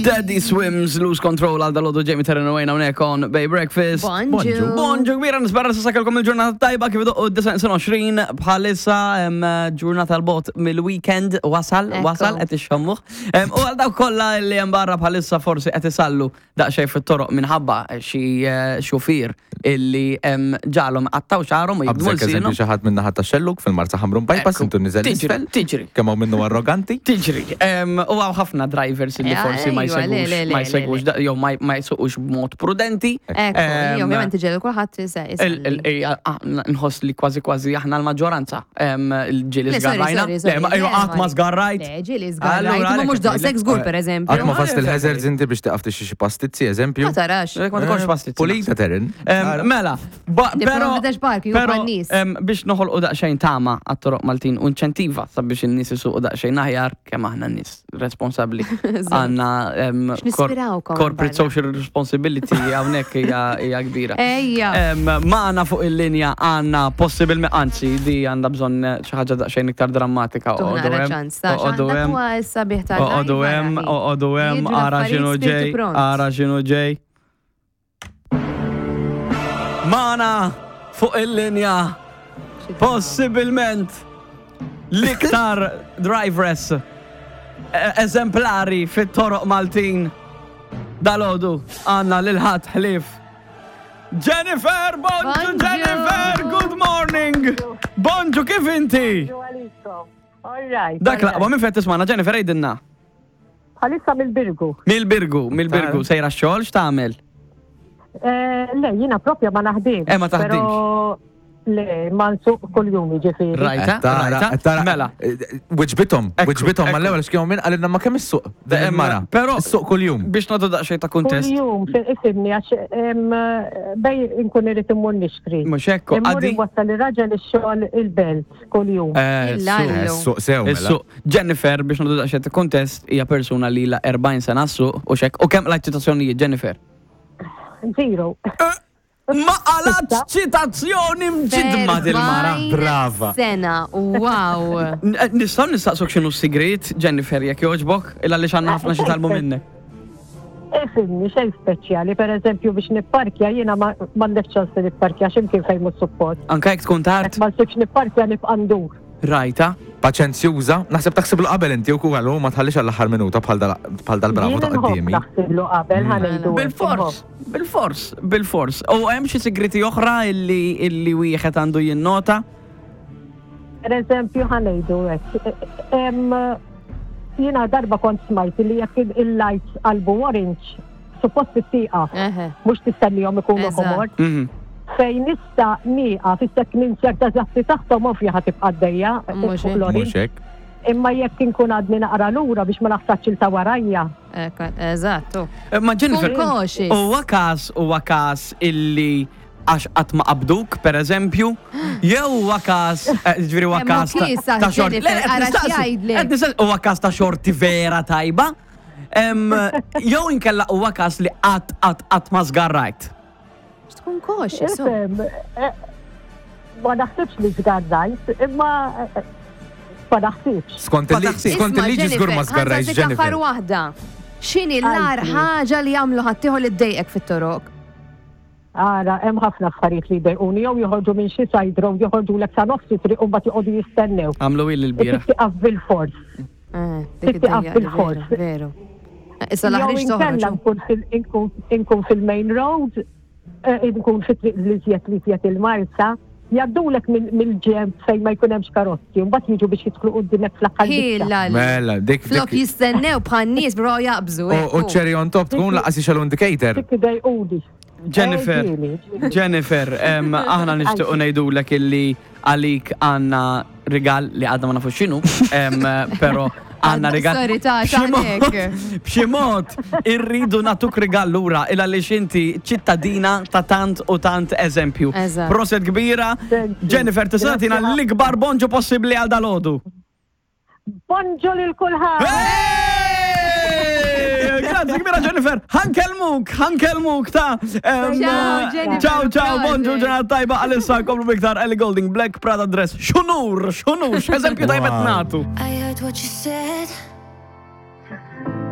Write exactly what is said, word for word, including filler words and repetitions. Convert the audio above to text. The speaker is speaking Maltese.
Daddy Swims, Lose Control għal dalgħodu Jamie Terren u għajna unek on Bay Breakfast. Bonġu. Bonġu kbira, nispera s'issa kellkom il-ġurnata tajba kif idoqqu d-disgħa għoxrin bħalissa em, ġurnata l-bot mill-weekend wasal, Ekku. wasal, qed ixxommuh. Em, U għal dawk kollha li hemm barra bħalissa forsi qed isallu daqsxejn fit-toroq minħabba xi eh, xufier illi em, ġalhom qattaw xagħarhom u jibdmu Qabżek eżempju lsienhom. xi ħadd min-naħa ta' Xellug fil-Marsa Ħamrun Bypass Ekku. intu niżel Tiġri, isfel. tiġri. Kemm hawn minnu arroganti. Tiġri, em, u hawn ħafna drivers illi Eh, forsi ma ejwa, le, le, jsegwux, le, ma le, jsegwux, le. da- jew ma ma jsuqux b'mod prudenti. Ekku, Em, ovvjament iġelu kulħadd Il- il- ija, ah, Nħoss li kważi kważi aħna l-maġġoranza em, il-ġieli Le, sorry, zgarrajna. sorry, sorry. Le, ma ejwa, qatt ma zgarrajt. Le, ġieli Allura, zgarrajt, ma mhux għalhekk daqshekk żgur pereżempju. Qatt ma fast il-hazards inti biex taqaf tixtri xi pastizzi, eżempju. Ma tarax. Lek ma tkunx pastizzi. Pulita Terren. Em, Mela, ba- Nipprova pero, nfittex parking, u pero bħan-nies. em, biex noħolqu daqsxejn tama għat-toroq Maltin u inċentiva sabiex in-nies isuqu daqsxejn aħjar kemm aħna nies responsabbli. Għandna em, kor- X'nispirawkom corporate barra. social responsibility hawnhekk hija hija kbira. Ejja. Em, Magħna fuq il-linja għandna possibilment, anzi, di għandha bżonn xi ħaġa daqsxejn iktar drammatika. Tuħna Oqogħdu hemm, ċans, ta' oqogħdu hemm, huwa s-sabiħ ta' oqogħdu hemm, oqogħdu hemm, ara x'inhu ġej, ara x'inhu ġej. Magħna fuq il-linja possibilment l-iktar drivers eh, eżemplari fit-toroq Maltin dalgħodu għandna lil ħadd ħlief Jennifer, bonġu Bonġu. Jennifer, good morning. Bonġu, kif inti? All right. Dak laqwa, minn fejn tismagħna, Jennifer, għidilna. Bħalissa mill-Birgu. Mill-Birgu, mill-Birgu, sejra xogħol x'tagħmel? Eh, Le, jina propja ma naħdimx. Eh, ma taħdimx. Pero le, ma nsuq kull-jum ġifiri. Rajta, rajta, mela. Wiġbitom, Ekku, wiġbitom ekku. mal-ewwel x'kienu minn qalilna ma kemm issuq din Em, il-mara. però- Issuq kuljum. Biex nagħtu daqsxejn ta' kuntest. Kull-jum, ifimni, għax em, bej inkun irrid immur nixtri. Mhux hekk, Immur għaddi. inwassal ir-raġel ix-xogħol il-belt kull-jum. Eh, Illa. suq. Allu. Issuq sew mela. Is-suq. Jennifer, biex nagħtu daqsxejn ta' kuntest, hija persuna li la erbgħin sena s-suq u xek. U kemm qlajt ċitazzjonijiet, Jennifer? Zero. Ma qalat ċitazzjoni mġidma dil-mara. Brava. Sena, wow. N- eh, Nistgħu nistaqsuk x'inhu s-sigriet, Jennifer, jekk jogħġbok, illa li għandna ħafna xi talbu minnek. Ifimni, xejn speċjali, per eżempju biex nipparkja, jiena ma m'għandek ċans li nipparkja x'imkien fejn mhux suppost. Anka jekk tkun tard, Jekk ma nsibx nipparkja nibqa' ndur. Rajta. Paċenzjuża, naħseb taħsiblu qabel inti u kuħalu ma tħallix għall-aħħar minuta bħal dal- bħal dal-bravo ta' Jien inħobb qoddimi. naħsiblu qabel ħa ngħidu hekk, Bil-fors, bil-fors, bil-fors. U hemm xi sigriti oħra illi illi wieħed għandu jinnota? Per eżempju, ħa ngħidu hekk. Em, Jiena darba kont smajt li jekk il-lights qalbu orange, suppost tieqaf, Eħe. mhux tistennihom ikunu Eżatt. ħomor. Mhm. Fejn issa nieqaf, issa ninserta żatti taħtom ovvja ħa tibqa' għaddejja Mhux fuq hekk. l-orange. Mhux hekk. Imma jekk inkun għadni naqra lura biex ma naħsatx il ta' warajja. Ekku, eżattu. Eh, Ma Jennifer, Kun cautious. huwa każ huwa każ illi għax qatt ma qabduk, per eżempju, jew huwa każ, eh, ġifieri huwa Hemm każ ta' kisa, ta' xorti. Jennifer, Le, qed ara nistaqsi, x'jgħidlek. qed nistaqsi, Huwa każ ta' xorti vera tajba. Em, Jew inkella huwa każ li qatt qatt qatt ma żgarrajt. Tkun cautious. oh. Ifhem, eh, ma naħsibx li żgarrajt, imma eh, ma naħsibx. Skont Ma il-liġi taħsibx. skont Isma' il-liġi żgur ma Jennifer, żgarrajx ħa nsaqsik Jennifer. aħħar waħda. X'inhi l-ar Għalfejn. ħaġa li jagħmlu ħaddieħor li ddejqek fit-toroq? Ara, hemm ħafna affarijiet li jdejquni, jew joħorġu minn xi side road, joħorġu lek sa nofs it-triq u mbagħad joqogħdu jistennew. Għamlu il l-bira. Tieqaf bil-fors. Eh, dik Tittiqaf id-dejja, bil-fors. veru, Veru. Eh, Issa Jew l-aħriġ inkella toħroġ. nkun fil- inkun- inkun fil-main road, eh, inkun fit-triq li żjed li żjed il-Marsa, jaddulek mill- mill-ġemp fejn ma jkun hemmx karozzi, u mbagħad jiġu biex jidħlu quddiemek fl-aħħar biċċa. Ħilla li. Mela, dik Flok dik. jistennew bħal nies bro jaqbżu. U u cherry on top tkun laqas ixelu indicator. Dik idejquni. Jennifer, Eh, ġieli, ġieli. Jennifer, em, aħna nixtiequ ngħidulek illi għalik għandna rigal li għadna ma nafux x'inhu, em, però għandna rigal. Sorry, ta' B'xi mod- x'għandek? B'xi mod irridu nagħtuk rigal lura il għaliex inti ċittadina ta' tant u tant eżempju. Eżatt. Proset kbira, Thank you. Jennifer, tista' tagħtina Grazie. l-ikbar bonġu possibbli għal dalgħodu. Bonġu lil kulħadd! Hey! Grazzi kbira Jennifer, ħa nkellmuk, ħa nkellmuk ta' em, Ciao, Jennifer, Ciao, ciao, prosit. bonġu ġurnata tajba għalissa komplu biktar Ellie Goulding, Black Prada Dress. X'unur, x'unur, x'eżempju tajba Wow. nagħtu. I heard what you said.